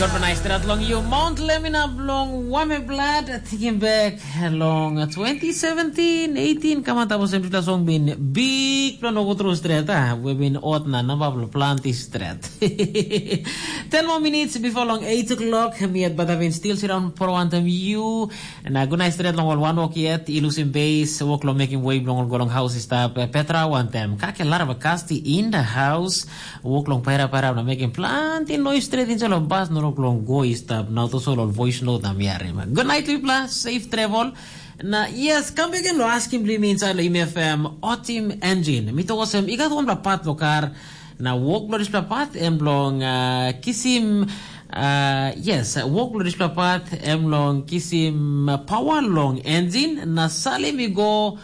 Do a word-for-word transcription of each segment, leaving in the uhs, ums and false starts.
Organized stret long you, Mount Lemina blong Wame Blood, taking back long twenty seventeen eighteen, come on, tapos em song bin big plan over through stret, ah, we've been out na number of planty stret. Ten more minutes before long eight o'clock, me at Badavin still sit down for one time you, na good night stret long all one walk yet, ilusim base, walk long making way long go long house stop, Petra one time, kake lara bakasti in the house, Wok long paira paira na mekim planti nois stret insait long bas na wok long go i stap na tasol ol voice note na mi harim. Good night mipela, safe travel. Na yes, kam bek gen lo askim bli mi insait lo M F M otim engine. Mi tok olsem, i gat wanpela pat lo kar, na wok lo dispela pat em long uh, kisim uh, yes, wok lo dispela pat em long kisim uh, power long engine na salim i go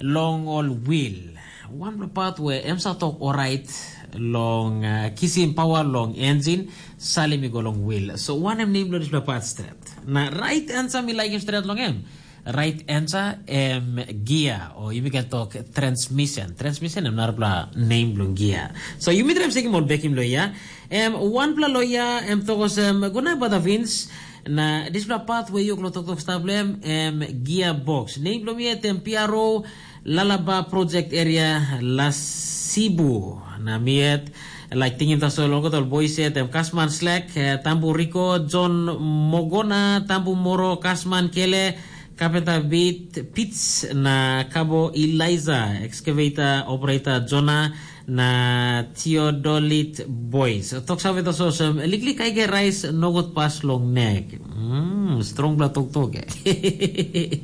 long ol wil. Wanpela pat we em sa tok orait long uh, kisim pawa long enjin, salim i go long wil. So wanem nem bilong dispela pat stret? Na rait ansa mi laikim stret long em. Rait ansa em gia, o yumi ken tok transmission. Transmission em narapela nem bilong gia. So yumi traim sekim ol bekim lo ya. Em wanpela lo ya em tok olsem, guna bada Vince, na dispela pat we yuk lo toktok stap lo em, em gia box. Nem bilong mi em P R O, Lalaba Project Area, Lasibu. Na mi yet, like tingim tasol long ol boys yet, em Kasman Slack, eh, Tambu Rico, John Mogona, Tambu Moro, Kasman Kele, Kapenta Bit, Pits, na Kabo Eliza, excavator operator Jona, na Theodolit Boys. Tok save tasol olsem, liklik aige rais nogut pas long nek. Mm, strong bla toktok eh.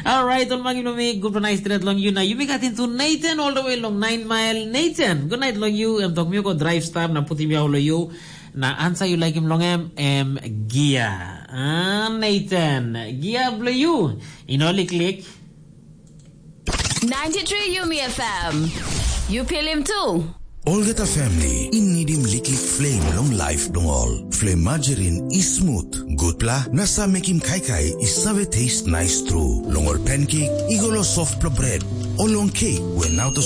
Alright, ol magi long mi, good night stret long you. Na yumi gat into Nathan all the way long nine mile. Nathan, good night long you. Em tok mi go drive stop na putim yau lo you. Na ansa you like him long em, em gia. Ah, Nathan, gia blo you. You know, liklik. ninety-three Yumi F M. You feel him too. Olgeta family i nidim liklik flame long life bilong ol. Flame margarine i smooth, gutpela na sa mekim kaikai i save taste nice tru. Long ol pancake i go lo softpela bread, o long cake we now to